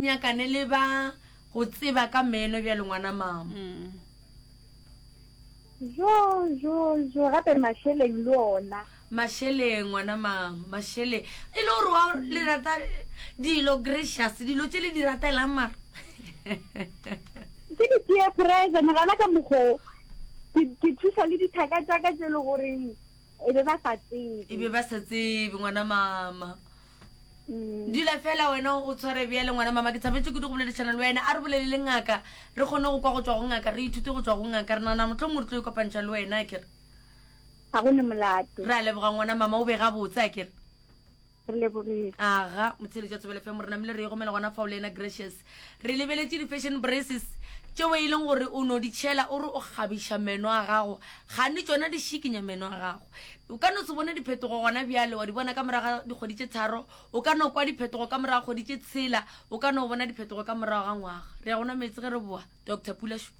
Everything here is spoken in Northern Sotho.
nyakane le ba go tseba ka meno bjale ngwana mama. Jo, jo, jo, gape mašeleng le ona. Mašeleng, ngwana mama, mašeleng. E le gore wa le rata dilo gracious, dilo tše le di ratelang mara. Ke di peer pressure, nagana ka mokgo ke ke thuša le dithaka tša ka tše le goreng e be ba sa tsebe. E be ba sa tsebe, ngwana mama. Dula fela wena o tshware bjale ngwana mama ke thabetše kudu go boledišana le wena a re bolele le ngaka re kgone go kwa go tšwa go ngaka re ithute go tšwa go ngaka re nagana mohlomongwe re tlo ikopantšha le wena a kere Ga go ne molato. Re a leboga ngwana mama o be gabotse a kere. Re lebogile. Aga motheeletši wa Thobela FM re namile re egomela gona fao le yena Gracious. Re lebeletše di-fashion braces tšeo e leng gore o no di tšhela o re o kgabiša meno a gago gane tšona di šikinya meno a gago. O ka no se bone diphetogo gona bjale, wa di bona ka morago ga dikgwedi tše tharo, o ka no kwa diphetogo ka morago ga kgwedi tše tshela, o ka no bona diphetogo ka morago ga ngwaga. Re ya go nwa meetse ge re boa. Doctor Pula Shu.